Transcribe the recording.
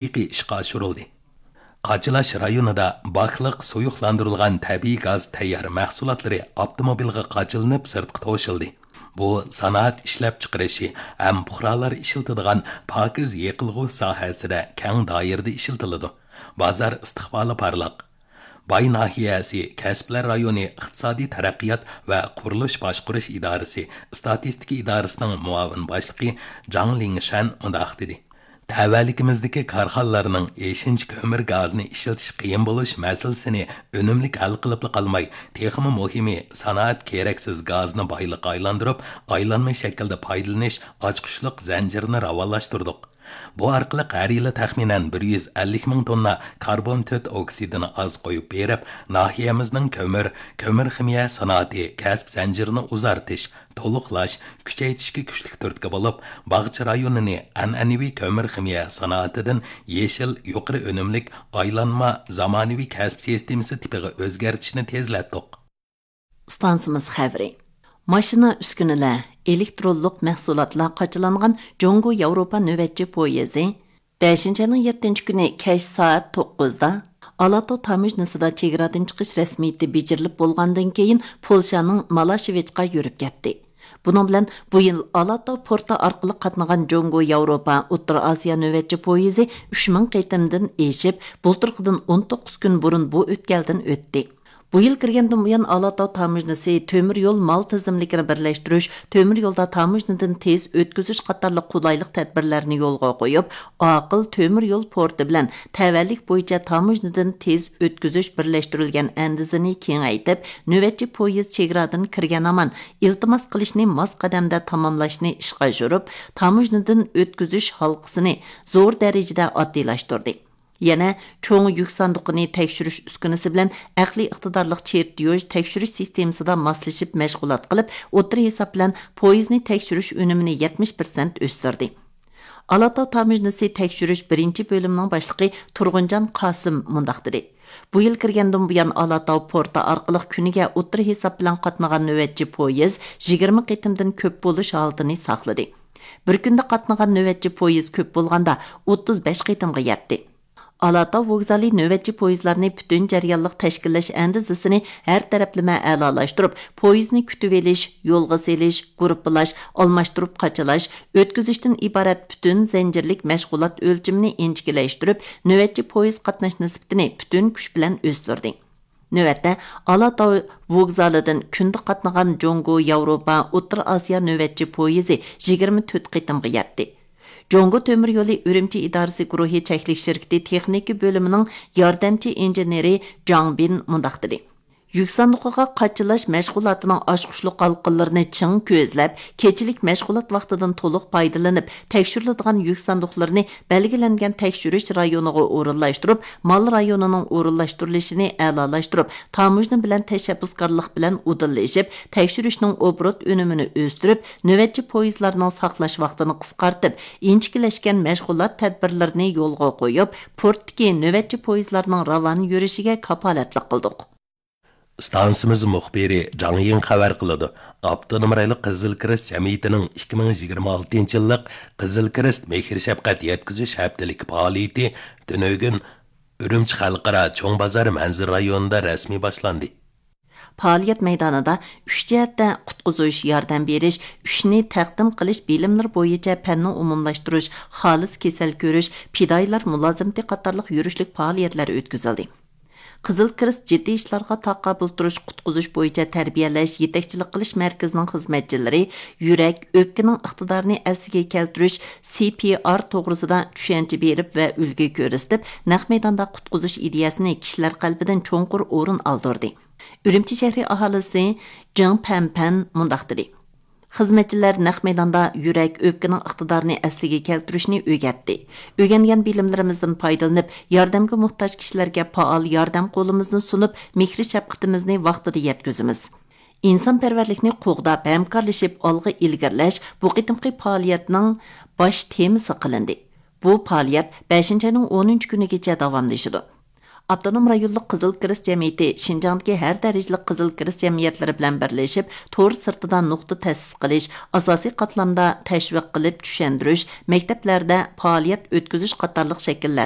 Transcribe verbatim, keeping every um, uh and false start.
ھەقىقىي ئىشقا ئاشۇرۇلدى. قاچىلاش رايونىدا باكلىق سۇيۇقلاندۇرۇلغان تەبىئىي گاز تەييار مەھسۇلاتلىرى ئاپتوموبىلغا قاچىلىنىپ سىرتقا توشۇلدى. بۇ سانائەت ئىشلەپچىقىرىشى ھەم پۇقرالار ئىشلىتىدىغان پاكىز يېقىلغۇ ساھەسىدە كەڭ دائىرىدە ئىشلىتىلىدۇ. بازار ئىستىقبالى پارلاق. باي ناھىيەسى كەسىپلەر رايونى ئىقتىسادىي تەرەققىيات ۋە قۇرۇلۇش باشقۇرۇش ئىدارىسى ئىستاتىستىكا ئىدارىسىنىڭ مۇئاۋىن باشلىقى جاڭ لىڭشەن مۇنداق دېدى: تەۋەلىكىمىزدىكى كارخانىلارنىڭ ئېشىنچا كۆمۈر گازىنى ئىشلىتىش قىيىن بولۇش مەسىلىسىنى ئۈنۈملۈك ھەل قىلىپلا قالماي، تېخىمۇ مۇھىمى، سانائەت كېرەكسىز گازنى بايلىققا ئايلاندۇرۇپ، ئايلانما شەكىلدە پايدىلىنىش ئاچقۇچلۇق زەنجىرىنى راۋانلاشتۇردۇق. بۇ ئارقىلىق ھەر يىلى تەخمىنەن بىر يۈز ئەللىك مىڭ توننا كاربون تۆت ئوكسىدىنى ئاز قويۇپ بېرىپ، ناھىيەمىزنىڭ كۆمۈر، كۆمۈر خىمىيە سانائىتى كەسىپ زەنجىرىنى ئۇزارتىش، تولۇقلاش، كۈچەيتىشكە كۈچلۈك تۈرتكە بولۇپ، باغچە رايونىنى ئەنئەنىۋى كۆمۈر خىمىيە سانائىتىدىن يېشىل، يۇقىرى ئۈنۈملۈك، ئايلانما، زامانىۋى كەسىپ سىستېمىسى تىپىغا ئۆزگەرتىشنى تېزلەتتۇق. ئىستانسىمىز خەۋىرى. ماشىنا ئۈسكۈنىلەر، ئېلېكترونلۇق مەھسۇلاتلار قاچىلانغان جۇڭگو ياۋروپا نۆۋەتچى پويىزى بەشىنچى ئاينىڭ يەتتىنچى كۈنى كەچ سائەت توققۇزدا ئالاتاۋ تاموژنىسىدا چېگرادىن چىقىش رەسمىيىتى بېجىرىلىپ بولغاندىن كېيىن، پولشانىڭ مالاشېۋىچقا يۈرۈپ كەتتى. بۇنىڭ بىلەن بۇ يىل ئالاتاۋ پورتى ئارقىلىق قاتنىغان جۇڭگو ياۋروپا ئوتتۇرا ئاسىيا نۆۋەتچى پويىزى ئۈچ مىڭ قېتىمدىن ئېشىپ، بۇلتۇرقىدىن ئون توققۇز كۈن بۇرۇن بۇ ئۆتكەلدىن ئۆتتى. بۇ يىل كىرگەندىن بۇيان، ئالاتاۋ تاموژنىسى تۆمۈر يول مال تىزىملىكىنى بىرلەشتۈرۈش، تۆمۈر يولدا تاموژنىدىن تېز ئۆتكۈزۈش قاتارلىق قولايلىق تەدبىرلەرنى يولغا قويۇپ، ئاقىل تۆمۈر يول پورتى بىلەن تەۋەلىك بويىچە تاموژنىدىن تېز ئۆتكۈزۈش بىرلەشتۈرۈلگەن ئەندىزىنى كېڭەيتىپ، نۆۋەتچى پويىز چېگرادىن كىرگەن ھامان ئىلتىماس قىلىشنى ماس قەدەمدە تاماملاشنى ئىشقا ئاشۇرۇپ، تاموژنىدىن ئۆتكۈزۈش ھالقىسىنى زور دەرىجىدە ئاددىيلاشتۇردى. يەنە چوڭ يۈك ساندۇقىنى تەكشۈرۈش ئۈسكۈنىسى بىلەن ئەقلىي ئىقتىدارلىق چېرتيوژ تەكشۈرۈش سىستېمىسىدا ماسلىشىپ مەشغۇلات قىلىپ، ئوتتۇرا ھېساب بىلەن پويىزنى تەكشۈرۈش ئۈنۈمىنى يەتمىش پىرسەنت ئۆستۈردى. ئالاتاۋ تاموژنىسى تەكشۈرۈش بىرىنچى بۆلۈمىنىڭ باشلىقى تۇرغۇنجان قاسىم مۇنداق دېدى: بۇ يىل كىرگەندىن بۇيان، ئالاتاۋ پورتى ئارقىلىق كۈنىگە ئوتتۇرا ھېساب بىلەن قاتنىغان نۆۋەتچى پويىز يىگىرمە قېتىمدىن كۆپ بولۇش ھالىتىنى ساقلىدى. بىر كۈندە قاتنىغان نۆۋەتچى پويىز كۆپ بولغاندا ئوتتۇز بەش قېتىمغا يەتتى. ئالاتاۋ ۋوگزالى نۆۋەتچى پويىزلارنى پۈتۈن جەريانلىق تەشكىللەش ئەندىزىسىنى ھەر تەرەپلىمە ئەلالاشتۇرۇپ، پويىزنى كۈتۈۋېلىش، يولغا سېلىش، گۇرۇپپىلاش، ئالماشتۇرۇپ قاچىلاش، ئۆتكۈزۈشتىن ئىبارەت پۈتۈن زەنجىرلىك مەشغۇلات ئۆلچىمىنى ئىنچىكىلەشتۈرۈپ، نۆۋەتچى پويىز قاتناش نىسبىتىنى پۈتۈن كۈچ بىلەن ئۆستۈردى. نۆۋەتتە، ئالاتاۋ ۋوگزالىدىن كۈندە قاتنىغان جۇڭگو ياۋروپا ئوتتۇرا ئاسىيا نۆۋەتچى پويىزى يىگىرمە تۆت قېتىمغا يەتتى. جۇڭگو تۆمۈر يولى ئۈرۈمچى ئىدارىسى گۇرۇھى چەكلىك شىركىتى تېخنىكا بۆلۈمىنىڭ ياردەمچى ئىنژېنېرى جاڭ بىن مۇنداق دېدى: يۈك ساندۇقىغا قاچىلاش مەشغۇلاتىنىڭ ئاچقۇچلۇق ھالقىلىرىنى چىڭ كۆزلەپ، كېچىلىك مەشغۇلات ۋاقتىدىن تولۇق پايدىلىنىپ، تەكشۈرۈلىدىغان يۈك ساندۇقلىرىنى بەلگىلەنگەن تەكشۈرۈش رايونىغا ئورۇنلاشتۇرۇپ، مال رايونىنىڭ ئورۇنلاشتۇرۇلۇشىنى ئەلالاشتۇرۇپ، تاموژنا بىلەن تەشەببۇسكارلىق بىلەن ئۇدۇللىشىپ، تەكشۈرۈشنىڭ ئوبوروت ئۈنۈمىنى ئۆستۈرۈپ، نۆۋەتچى پويىزلارنىڭ ساقلاش ۋاقتىنى قىسقارتىپ، ئىنچىكىلەشكەن مەشغۇلات تەدبىرلىرىنى يولغا قويۇپ، پورتتىكى نۆۋەتچى پويىزلارنىڭ راۋان يۈرۈشىگە كاپالەتلىك قىلدۇق. ئىستانسىمىز مۇخبىرى جاڭ يىڭ خەۋەر قىلىدۇ. ئاپتونوم رايونلۇق قىزىل كىرېست جەمئىيىتىنىڭ ئىككى مىڭ يىگىرمە ئالتىنچى يىللىق قىزىل كىرېست مېھىر شەپقەت يەتكۈزۈش ھەپتىلىك پائالىيىتى تۈنۈگۈن ئۈرۈمچى خەلقئارا چوڭ بازار مەنزىرە رايونىدا رەسمىي باشلاندى. پائالىيەت مەيدانىدا ئۈچ جەھەتتە قۇتقۇزۇش، ياردەم بېرىش، ئۈچنى تەقدىم قىلىش بىلىملىرى بويىچە پەننى ئومۇملاشتۇرۇش، خالىس كېسەل كۆرۈش، پىدائىيلار مۇلازىمىتى قاتارلىق يۈرۈشلۈك پائالىيەتلەر ئۆتكۈزۈلدى. قىزىل كىرېست جىددىي ئىشلارغا تاقابىل تۇرۇش، قۇتقۇزۇش بويىچە تەربىيەلەش، يېتەكچىلىك قىلىش مەركىزىنىڭ خىزمەتچىلىرى يۈرەك، ئۆپكىنىڭ ئىقتىدارىنى ئەسلىگە كەلتۈرۈش، سى پى ئار توغرىسىدا چۈشەنچە بېرىپ ۋە ئۈلگە كۆرسىتىپ، نەق مەيداندا قۇتقۇزۇش ئىدىيەسىنى كىشىلەر قەلبىدىن چوڭقۇر ئورۇن ئالدۇردى. ئۈرۈمچى شەھىرى ئاھالىسى جېڭ پەنپەن مۇنداق دېدى: خىزمەتچىلەر نەق مەيداندا يۈرەك، ئۆپكىنىڭ ئىقتىدارىنى ئەسلىگە كەلتۈرۈشنى ئۆگەتتى. ئۆگەنگەن بىلىملىرىمىزدىن پايدىلىنىپ، ياردەمگە موھتاج كىشىلەرگە پائال ياردەم قولىمىزنى سۇنۇپ، مېھرى شەپقىتىمىزنى ۋاقتىدا يەتكۈزىمىز. ئىنسانپەرۋەرلىكنى قوغداپ، ھەمكارلىشىپ ئالغا ئىلگىرىلەش بۇ قېتىمقى پائالىيەتنىڭ باش تېمىسى قىلىندى. بۇ پائالىيەت بەشىنچى ئاينىڭ ئونىنچى كۈنىگىچە داۋاملىشىدۇ. ئاپتونوم رايونلۇق قىزىل كىرېست جەمئىيىتى شىنجاڭدىكى ھەر دەرىجىلىك قىزىل كىرېست جەمئىيەتلىرى بىلەن بىرلىشىپ، تور سىرتىدا نۇقتا تەسىس قىلىش، ئاساسىي قاتلامدا تەشۋىق قىلىپ چۈشەندۈرۈش، مەكتەپلەردە پائالىيەت ئۆتكۈزۈش قاتارلىق شەكىللەردە